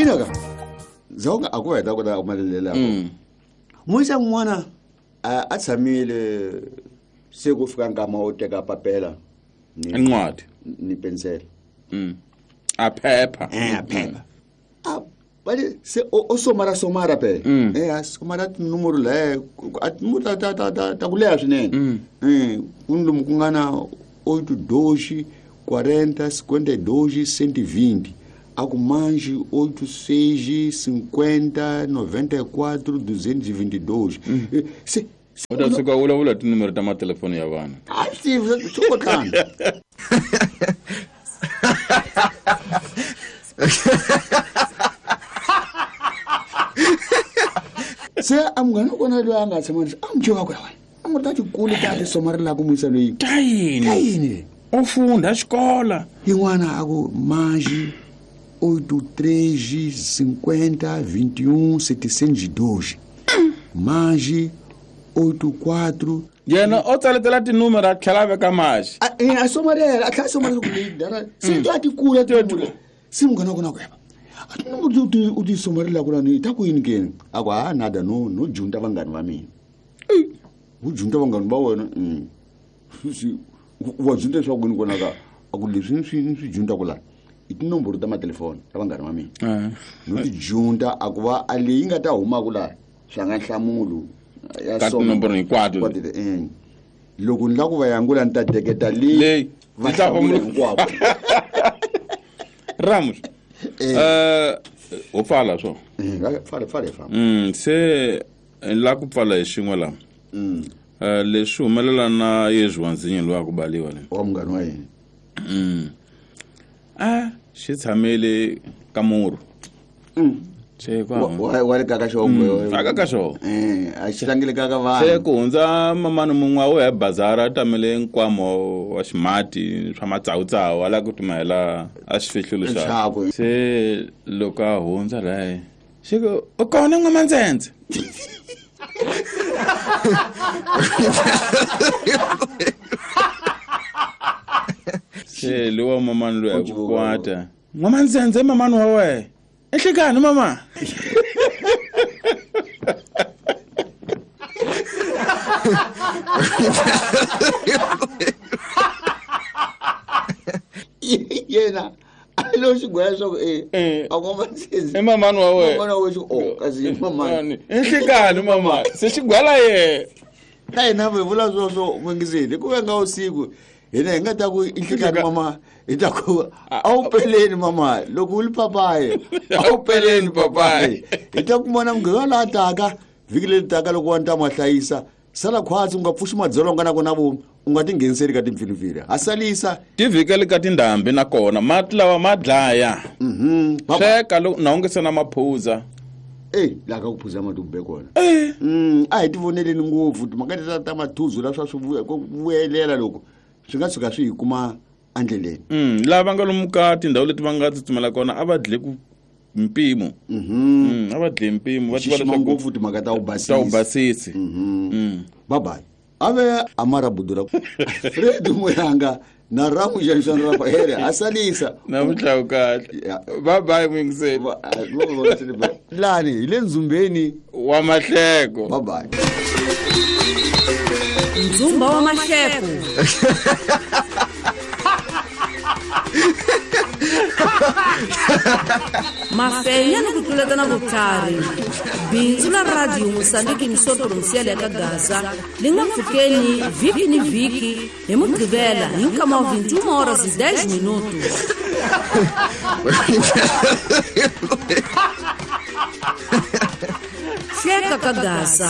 Ina ka zonga a ku heta ku ta malelela muisa n'wana a tshamile se ku fika nkama wo teka papela ni incwadi ni pensela. A phepha. A phepha. A bale se o somara somara phela. A somara tinomoro laye a tinomoro ta ku leha swinene. Ku ni lomu ku nga na 8 2 40 52 120 a ku manji 8 6 50 94 222. Se u ta tshuka u vulavula tinomero ta matelefoni ya vanhu. A swi swi kotlana. Se a munghana wa kona loyi a nga tshama a n'wi tiva ku ya wena a n'wi ta tikulu ta ti somarelaka muisa loyi. Ta yini? Ta yini? U funda xikola. Yin'wana a ku manji 8 3 50 21 702. Manji 8 4. Yena o tsaletela tinomero a tlhela a veka maxi. A somarela a tlhela a somarela ku leyi dara se to a ti kula tinomoro. Se munghana wa kona ku yeva a tinomoro u ti somarelaka lani ta ku yini keni? A ku ha nada no junta vanghani va mina. U junta vanghani va wena. Wa junta leswaku yini kona ka a ku leswi ni swi junta ku la i tinomboro ta matelefoni ta vanghani va mina. No ti junta a ku va a leyi nga ta humaka la swa nga nhlamulo ya ka tinomboro hinkwato. Loko ni la ku va yangula ni ta deketa leyi va hlamula hinkwavo. Ramus. Ho pfala swo. Pfala pfala famba. Se la ku pfala hi xin'we la. Leswi humelela na Yesu wa nzinyo loyi a ku baliwa le. Wa munghana wa yena. Xi tshamele ka murhu. Se kwa. Wa le kaka xo. Aka ka xo. A xi tlangele kaka vanhu. Se ku hundza mamani mun'we a wo ya bazara a tamele nkwamo wa ximati swa matsawutsawu a la ku timahela a xifihlulo xa. Se loko a hundza laye xi ku u kona n'wamandzendze. Se lowa mamani loyi a ku kwata. N'wamandzendze mamani wa wena. Enhlekani mama. Yena a lo xigwela swa ku a n'wamandzendze i mamani wa wena. Mamani wa wena o kasi i mamani. Enhlekani mama. Se xigwela ye. Na hina hi vula sweswo n'wingiseli ku venga usiku hina hi nga ta ku inhlekani mama hi ta ku a wu peleni mama loko u li papayi a wu peleni papayi. Hi ta kumana munghana laha taka vhiki leri taka loko wa ni ta ma hlayisa sala khwatsi u nga pfuxi madzolonga na kona vo u nga tingheniseli ka timpfilumpfilu ha salisa tivhikeli ka tindhambi nakona mati lawa ma dlaya. Sweka na u nge se na maphuza. Laha ka ku phuza mati u be kona. A hi tivoneleni ngopfu timhaka leti ta mathuzu la swa swi vuyelela loko swi nga tshuka swi hi kuma endleleni. Lava nga lomu ka tindhawu leti va nga tsutsumela kona a va dle ku mpimo. A va dle mpimo va tiva leswaku ngopfu timhaka ta u ta u basisi. Bye bye. Ave amara budura. Fred Muyanga na Ramu Janshan Rafael asalisa. Na mutlawu kahle. Bye bye mwingiseli. Lani hi le nzumbeni wa mahleko. Bye bye. Nzumba wa mahleko. Mafenya ni ku tluletana vutlhari. Bindzu la Radio Mozambique Misoto Provincial ya ka Gaza li nga pfukeni vhiki ni vhiki hi Mugqivela hi nkama wa 21 horas e 10 minutos. Hleka ka Gaza.